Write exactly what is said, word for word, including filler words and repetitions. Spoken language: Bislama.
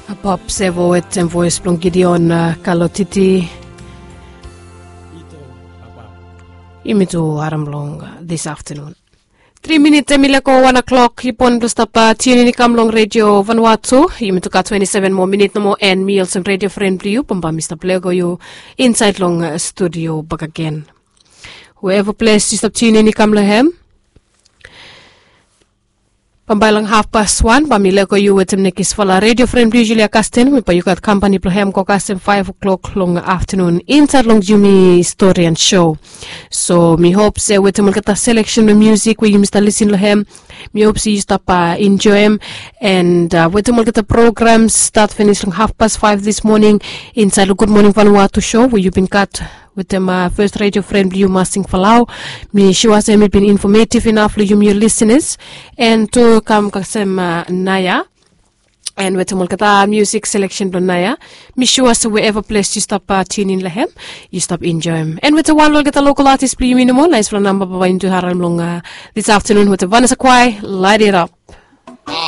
Pop sevo wetem voes blong Gideon Kalotiti. Yumi tu harim long this afternoon. Tri minit em i lego wan o'clock. Yu bon blong stap tiunin i kam long redio Vanuatu. Yumi tu gat twenti seven moa minit nomo, and mi olsem redio fren blong yu bambae mi stap lego yu insaed long studio bakegen. Wherever ples yu stap tiunin i kam long hem, bambae long hafpas wan bae mi lego yu wetem nekisfala redio fren blong yu, Julia Kasten, we bae yu gat kampani blong hem go kasem faef o'clock long aftanun insaed long yumi stori and show. So mi hop se wetem olgeta seleksen blong musik we yumi stap lisin long hem, mi hop se yu stap enjoem. And wetem olgeta programs stat finis long hafpas faef dis moning insaed long Gud Moning Vanuatu show we yu bin gat wetem fes redio fren blong yu, Masing Falau. Mi sua se mi bin infometiv inaf long yumi ol lisenas. And tu kam kasem naoia, and wetem olgeta musik seleksen blong naoia, mi sua se wherever ples yu stap tiunin long hem, yu stap enjoem. And wetem wan long olgeta lokal atis blong yumi nomo, naesfala namba bae yumi tu harim long this aftanun wetem Vanessa Quai, Light It Up.